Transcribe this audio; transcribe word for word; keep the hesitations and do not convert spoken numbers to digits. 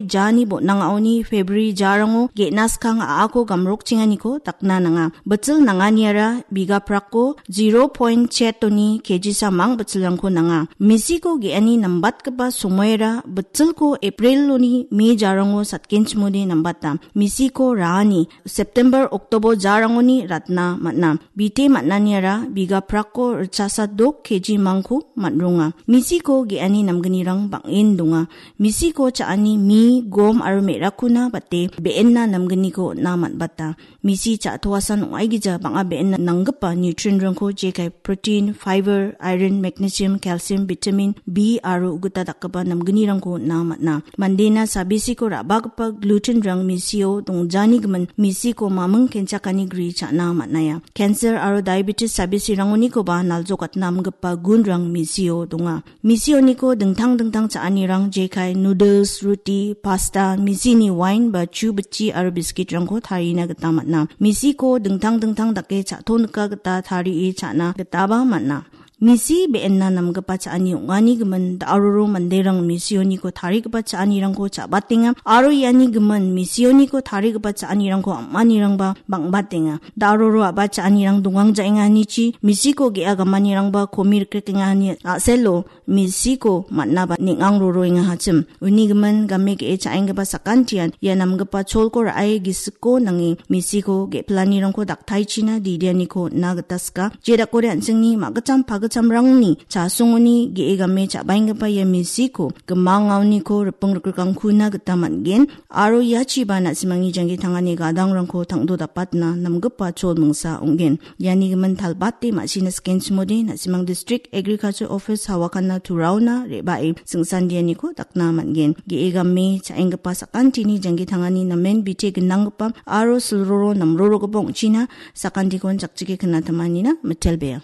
jani botnangaoni February jarango ge·na skang a·ako gamrokchenganiko dakna nanga. Bitchil nanganiara bigaprako zero point chetoni kejisa mang bitchilrangko nanga. Misiko ge·ani nambatgipa somoera bitchilko Apriloni May jarango satgenchimode nambata. Misiko raani September, October jarangoni ratna man·a. Bite man·aniara bigaprako ritchasa dok keji mangko man·ronga. Misiko ge·ani namgnirang bang·en donga. Misiko cha·ani mi, gom aro me·rakkona bate be·enna namgniko on·na man·bata. Misi cha·toasan ong·aigija bang·a be·enna nanggipa nutrientrangko jekai protein, fiber, iron, magnesium, calcium, vitamin B aro ugita dakgipa namgnirangko on·na man·a. Mandena sabisiko ra·bagipa glutenrang misio dongjani gimin misiko maming kenchakani gri cha·na man·aia. Cancer aro diabetes sabisirangonikoba naljokatna amgipa gunrang misio donga. Misioniko dingtang dingtang cha·anirang jekai noodles, ruti, pasta, misini wain ba chu bitchi aro biskitrangko tarina gita man·a. Misiko dingtang dingtang dake cha·tonika gita tarie cha·na gitaba man·a. Misi be·enna namgipa cha·ani ong·ani gimin da·aroro manderang misioniko tarigipa cha·anirangko cha·batenga aro iani gimin misioniko tarigipa cha·anirangko am·anirangba bang·batenga. Da·aroro a·ba cha·anirang dongang ja·enganichi misiko ge·a gamanirangba komi rikrikengani a·selo misiko man·aba neng·ang roroengahachim. Uni gimin game ge·e cha·enggipa sakantian ia namgipa cholko ra·e gisikko nange misiko ge·pilanirangko daktaichina didianiko on·na gita sika. Jedakode an·chingni ma·gitcham pagitchamrangni chasongoni ge·e game cha·baenggipa ia misiko gimangaoniko riping rikrikangkuna gita man·gen. Aro iachiba na·simangni janggi tangani gadangrangko tangdo dapatna namgipa chol mingsa ong·gen. Iani gimin talbate ma·sina sikenchimode na·simang District Agriculture Office Hawakanna Turaona re·bae singsandianiko dakna man·gen. Ge·e game cha·enggipa sakantini janggi tangani namen bite gnanggipa aro silroro namrorogipa ong·china sakantikon chakchike knatamanina mitelbea.